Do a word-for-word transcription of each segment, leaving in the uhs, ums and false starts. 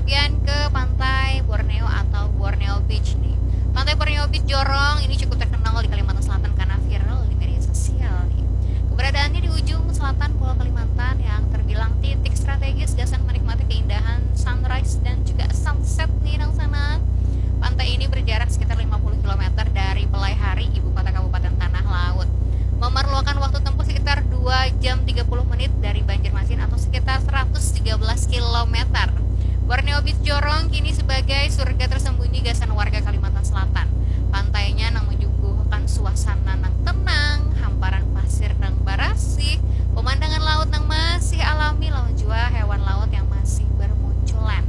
Kemudian ke pantai Borneo atau Borneo Beach nih. Pantai Borneo Beach Jorong ini cukup terkenal di Kalimantan Selatan karena viral di media sosial nih. Keberadaannya di ujung selatan Pulau Kalimantan yang terbilang titik strategis gasan menikmati keindahan sunrise dan juga sunset nih nang sana. Pantai ini berjarak sekitar lima puluh kilometer dari Pelai Hari, ibu kota Kabupaten Tanah Laut. Memerlukan waktu tempuh sekitar dua jam tiga puluh menit dari Banjarmasin atau sekitar seratus tiga belas kilometer. Borneo Beach Jorong kini sebagai surga tersembunyi gasan warga Kalimantan Selatan. Pantainya nang menyuguhkan suasana nang tenang, hamparan pasir nang barasih, pemandangan laut nang masih alami, lawan jua hewan laut yang masih bermunculan.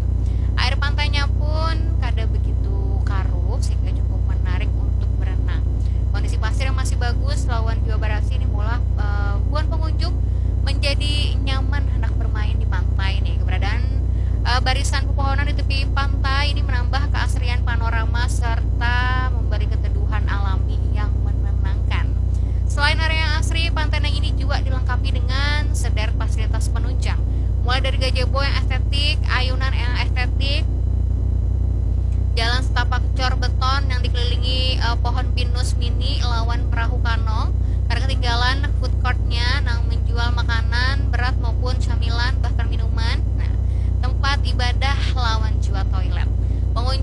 Air pantainya pun kada begitu karuh sehingga cukup menarik untuk berenang. Kondisi pasir yang masih bagus lawan jua barasih ini maulah, eh, buan pengunjung menjadi nyaman hendak bermain di pantai nih. Keberadaan, eh, barisan pepohonan di tepi pantai ini menambah keasrian panorama serta memberi keteduhan alami yang menenangkan. Selain area yang asri, pantai nang ini juga dilengkapi dengan sederet fasilitas penunjang, mulai dari gazebo yang estetik, ayunan yang estetik, jalan setapak cor beton yang dikelilingi, eh, pohon pinus mini lawan perahu kano. Kada ketinggalan food courtnya nang menjual makanan berat maupun camilan, bahkan minuman. Nah, tempat ibadah lawan jua toilet. Pengunjung